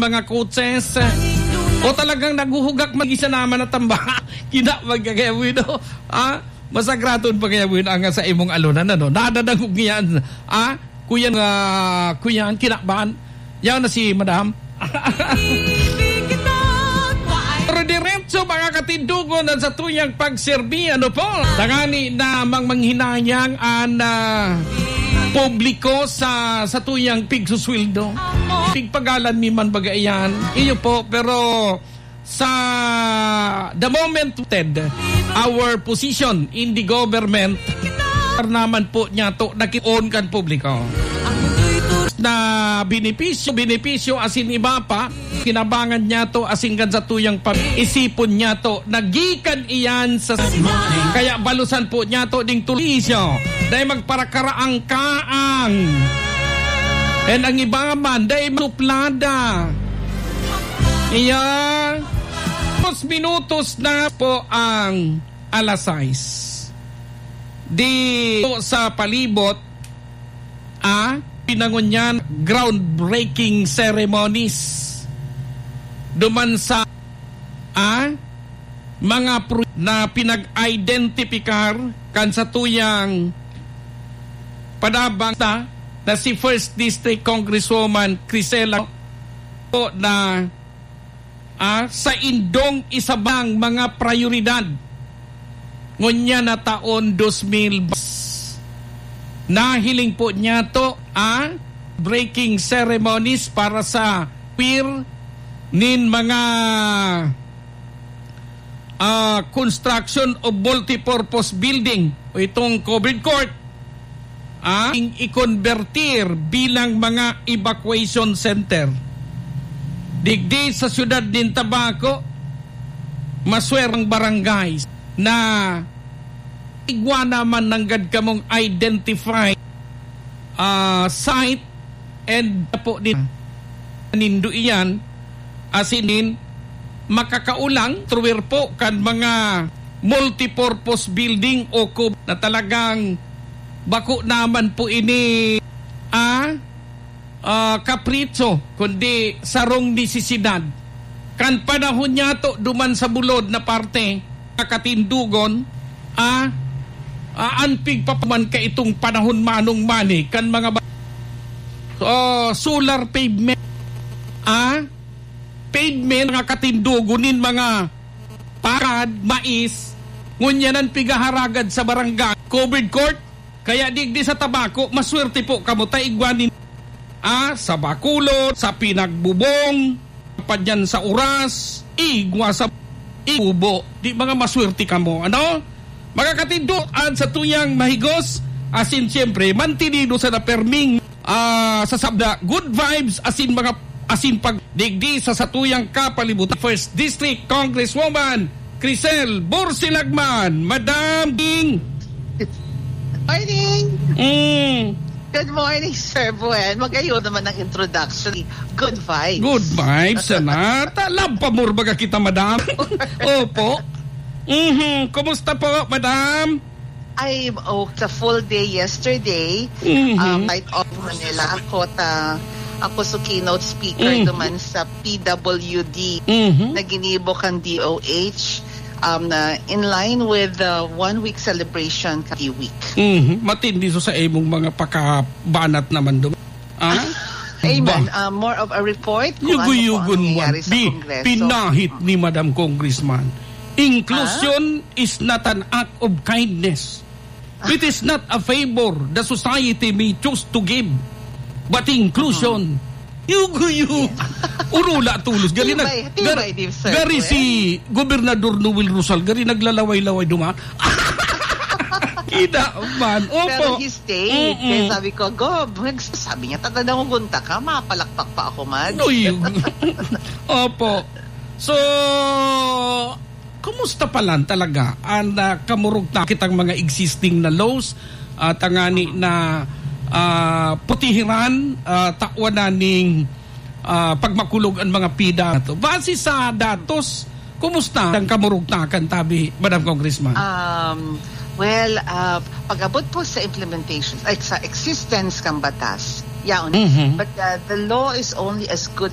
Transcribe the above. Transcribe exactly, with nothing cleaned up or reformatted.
mga coaches, o talagang naghuhugak mag-isa naman na tamba? Kina magkakayawi, no? Ah, masagraton pa kaya mo yun ang sa imong alunan, ano? Nadadangog niyan, ah? Kuya, ah, kuya, ang kinaban. Yan na si madam. Pero diretso, mga katindugon, ang sa tuyang pagserbi, ano po? Tangani na mang manghinayang ang, ah, publiko sa, sa tuyang pigsusweldo. Pigpagalan mi man baga iyan. Iyo po, pero sa the moment, Ted, our position in the government, naman po niya to, nakit-on kan publiko. Na benepisyo, benepisyo asin iba pa, kinabangan niya to, asin kan sa tuyang pag-isipon niya to, nagikan iyan sa, kaya balusan po niya to ding tulisyo, dahil magparakaraang kaang. And ang iba man, dahil masuplada. Iya, dos minutos na po ang alas sais. Di po sa palibot, ah, pinangunyan groundbreaking ceremonies. Duman sa, ah, mga pro-, na pinag-identipikar kan sa tuyang padabang na, na si First District Congresswoman Crisela po na, ah, sa indong isabang mga prioridad. Ngunyan na taon dos mil, nahiling po niya to, ah, breaking ceremonies para sa queer nin mga, ah, construction of multipurpose building o itong covered court, ah, i-convertir bilang mga evacuation center. Digdi sa siyudad nin Tabaco, maswerang barangay na igwa naman nanggad kamong identified, ah, site and po din nindo iyan, asin din makakaulang truwer po kan mga multipurpose building o kub-, na talagang bako naman po ini, ah, ah, kapritso, kundi sarong nesesidad. Kan panahon niya to, duman sa bulod na parte, katindugon, ah, ah, an pigpapaman ka itong panahon manong mani, kan mga ba-, oh, solar pavement, ah, pavement, mga katindugon nin mga pakad, mais, ngunyan an pigaharagad sa barangay, covered court, kaya digdi sa Tabaco, maswerte po kamo ta igwa nin, ah, sa Bacolod, sa Pinagbubong, pa diyan sa Oras, igwa sa Ibubo. Di mga maswerte kamo, ano? Mga katindo, at sa tuyang mahigos, asin siyempre, mantinido sa naperming, ah, sa sabda, good vibes, asin mga, asin pag digdi sa satuyang kapalibutan. First District Congresswoman Crisel Borsilagman, Madam Ding. Morning! Mm. Good morning, Sir Buen. Magayon naman ang introduction. Good vibes. Good vibes, sana. Talab pa murbaga kita, Madam. Opo. Mhm. Kumusta po, Madam? Ay, oh, sa full day yesterday, Mhm. um, Light of Manila, ako ta, ako sa keynote speaker Mhm. naman sa P W D Mhm. na ginibo kan D O H, um, na in line with the one week celebration ka week. Mhm. Matindi so sa imong mga pakabanat naman dum-, ah? Amen. Ba? Uh, more of a report kung ano po ang Yugo-yugon mo, nangyayari sa di, Kongreso. Pinahit ni Madam Congressman. Inclusion Ah? is not an act of kindness. It is not a favor the society may choose to give, but inclusion. Mhm. Yugo-yugo. Urula tulos. Gari nag-, Tibay, tibay, gar-, di, sir, gari eh. Si Gobernador Noel Rosal, gari naglalaway-laway duman. Kita man. Opo. Pero he stayed. Mm-mm. Kaya sabi ko, "Gob," sabi niya, "Taga Dangugunta ka, mapalakpak pa ako man." Uy. Opo. So, kumusta pa lang talaga ang, ah, kamurog na kitang mga existing na laws at ang ani na, ah, putihiran, ah, tawan na ning, ah, pagmakulog ang mga pida na to? Base sa datos, kumusta ang kamurugtakan tabi, Madam Congressman? Um, well, uh, pag-abot po sa implementation, like sa existence kang batas, yaon. Mhm. But, uh, the law is only as good